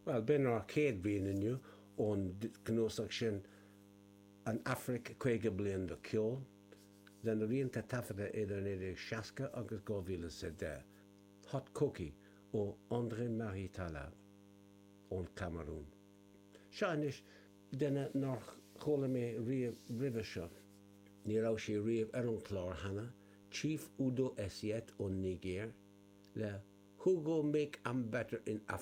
Bhuel, b'in ár chéad rian inniu ón gcnuasach sin, An Afraic, 50 Bliain de Cheol, lena rianta taifeadta idir 1960 agus 2010, Hot Koki ó André Marie Tala ón Chamarún. Seo anois duine nár chuala mé riamh roimhe seo. Ní raibh sé riamh ar an chlár cheana, Chief Udo Essiet ón Nigéir, le Who Go Make Am Better in Africa.